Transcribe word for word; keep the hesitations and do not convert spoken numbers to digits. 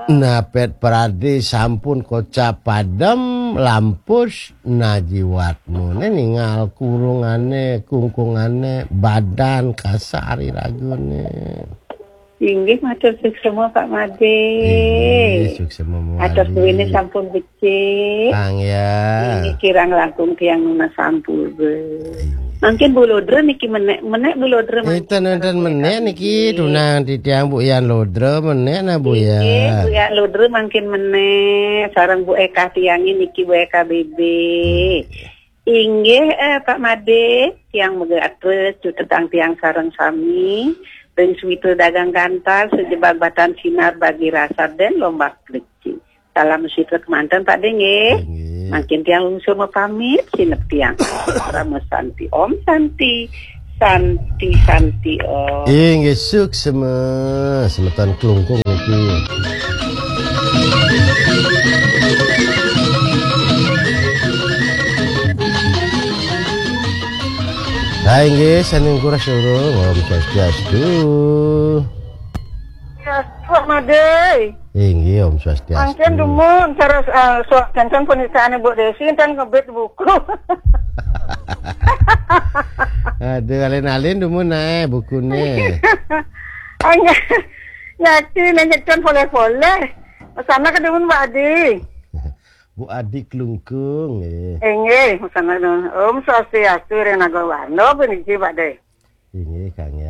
Napet pradi sampun kocap padem, lampus najiwatmu. Né ningal kurungane, kungkungane, badan kasar iragune. Inggih, matur suksema, Pak Made. Inggih, suksema mawali. Atos duwene sampun becik. Kang ya. Inggih, kirang langkung tiang nunas ampura. Inggih. Mangkin Bu Lodra niki menek, menek Bu Lodra mangkin. Enten, enten menek niki, tunang titiang Bu Yan Lodra menek nah, Bu Yan. Inggih, Bu Yan Lodra mangkin menek, sareng Bu Eka tiange niki, Bu Eka B B. Hmm. Inggih, eh, Pak Made, tiang megatra cutetang tiang sareng sami, ring switra dagang gantar, sejebag batan sinar bagi rasa den lombak pleci. Salam switra kemanten, Pak De, nggih. Inggih. Mangkin tiang lungsur mapamit, sineb tiang. Parama Santi, Om Santi, Santi, Santi, Om. Inggih, suksema, semeton Klungkung niki. Lah inggih, sanding kuras loro. Om Swastiastu. Swastiastu, Made. Inggih, Om Swastiastu. Mangkin dumun, cara, eh, suak janten punikane Bu Desi, enten ngebit buku. Aduh, alin-alin dumun ae bukune. Angge, nyaki nengecen poleh-poleh. Sana ke dumun, Pak Adi. Bu Adi Klungkung, nggih. Inggih, sana dumun. Om Swastiastu, ring Naga Warna, puniki, Pak De. Inggih, Kang, ya.